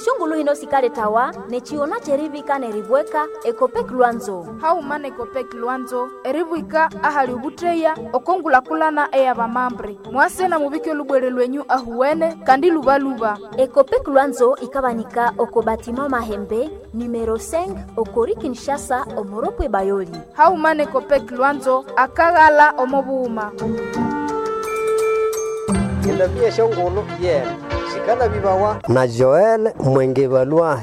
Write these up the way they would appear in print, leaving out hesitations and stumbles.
Esyongulu hino sikaletawa n'echigona ky'eribika n'eribweka Ekopek Lwanzo. Hauma na Ekopek Lwanzo eribwika ahali obuteya okongulakulana ey'abamambre. Mwase na mubike olubwere lwenyu ahuwene kandi lubaluba. Ekopek Lwanzo ikabanika oko batima Mahembe numero 5 okori Kinshasa omoropwe Bayoli. Hauma na Ekopek Lwanzo akaghala omo bughuma. Endambi y'esyongulhu yene sikalabibawa na Joel Mwenge Balwahi.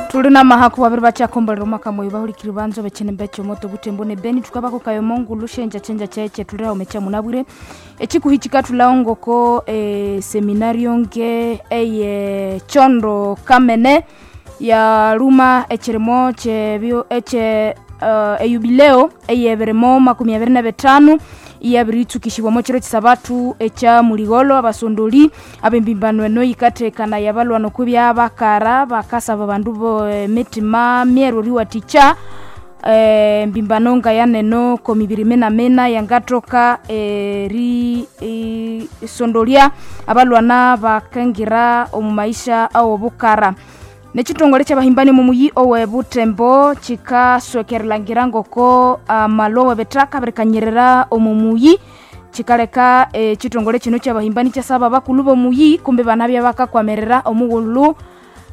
Tuli na mahaku babiri bakyakombolera omwaka mweyu bahulikiri banzo bekinembe kyomoto butembo ne beni tukabako kayo ngulu shenja chenja cheche tuli awo mecha munabwire ekikuhi kikatulawo ngoko seminario nge eye chondo kamene yaluma ekirimo kyebyo eche eyubileo eyebirimo 25 iyabiritsukishibwa chiro chisabatu echa muligolo abasondoli abembimbano eno yikatekana yabalwa nokubya bakara bakasaba bandu bo mitima myeru riwaticha mbimbano nga yaneno komibiri mena yangatoka ri sondolia abalwana bakengira omu maisha awo bukara nechitongole kyabahimbani mumuyi owe butembo chikaswekerelangira ngoko amalowe betaka birikanyirira omumuyi chikaleka chitongole chino kyabahimbani kyasaba bakulu bomuyi kumbe bana byabakakwamerera omughulu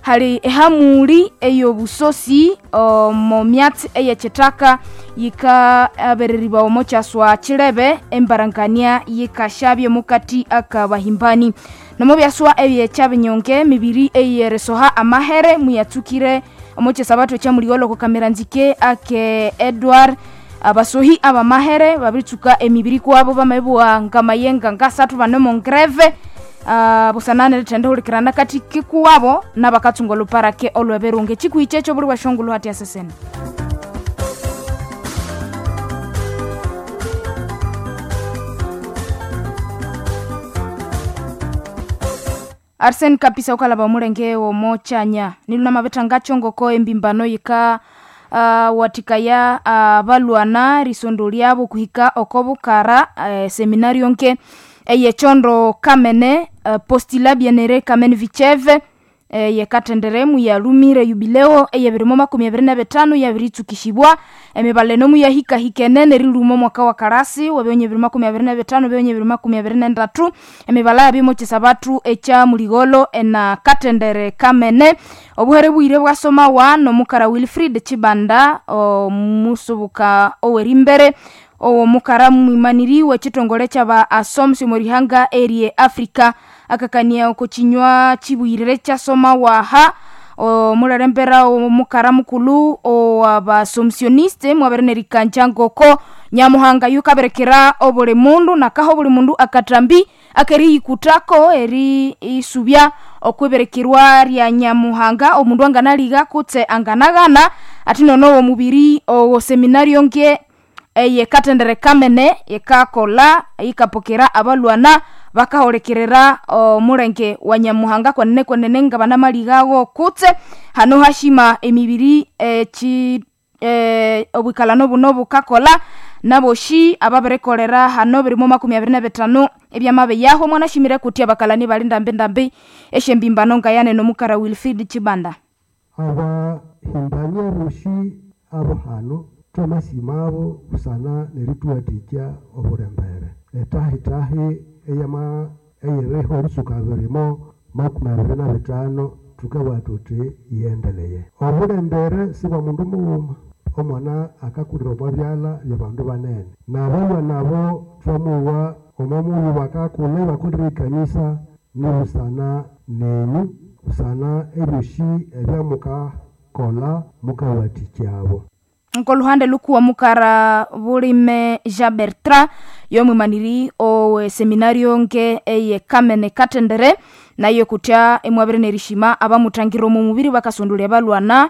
hali ehamuli eyobusosi omo myatsi eyechitaka yikabereriwa omo kyaswa chilebe embarangania yikashabye mukati akabahimbani nomo byaswa ebyekyabinyonge mibiri eyeresoha amahere muyatsukire omo kyesabatu ekyamuligolo kukamera nzike ake Edward abasohi abamahere babiritsuka emibiri kwabo bamabua ngamayenga ngasathu banemo ngreve busanane rithende hulikirana kati kikuwabo nabakatsunga oluparake olweberunge chikuhi kyekyo buli bwashongulu hati asesene. Arsene Kapisa ukalaba omulenge womo chanya niluna mabetha ngachongoko embimbano yika watikaya balwana risondo lyabo kuhika okobukara seminario nke eyechondo kamene postila bienere kamene vicheve yekatenderemu yalumire yubileo eyebirimo 25 yabiritsukishibwa emibale nomu yahikahikene neriluma omwaka wa karasi wabionye 2025 bionye 2023 emibala yabimo chisabatu echa muligolo ena katendere kamene obuhere bwire bwasomawa nomukara Wilfrid Chibanda omusubuka owerimbere owo mukara mwimaniri wechitongole kyaba asomsi omurihanga erie Africa akakania oko chinywa chibwirire kyasoma waha omularembera omukara mukulu owabasomsioniste mwabere nerikanja ngoko nyamuhanga yukaberekera obuli mundu nakaho buli mundu akatambi akeriyikutako eri isubya okwiberekerwa lya nyamuhanga omundu anganaliga kutse anganaghana ati nono omubiri owo seminario nge eyekatendere kamene yekakola yikapokera abalwana bakaholekerera omulenge wa nyamuhanga kwenene kwenene nga banamaligago kutse hano hashima emibiri obwikalano buno bukakola naboshi ababirekolera hano birimo 25 ebyamabe yaho mwanashimire kuti abakalani bali ndambi ndambi eshembimbano nga yanene omukara Wilfrid Chibanda. Abahimbania boshi abo hano twamasima abo busana nerituwathikya obulembere etahitahi eyama eyeriho erisuka birimo 25 tukabugha thuthi yiyendeleye. Obulembere sibwa mundu mughuma, omwana akakulira omwa byalha byabandu banene nabalwana abo twamuwa omo mughuma bakakulha ibakolire ekanisa nibusana nenyu busana ebyosi ebyamukakolha mukawathikyabo. Nkoluhande lukuwa mukara bulime Jean Bertrand yomwimaniri owe seminario nge eye kamene katendere naye kutya emwabire nerishima abamutangira omu mubiri bakasondolya balwana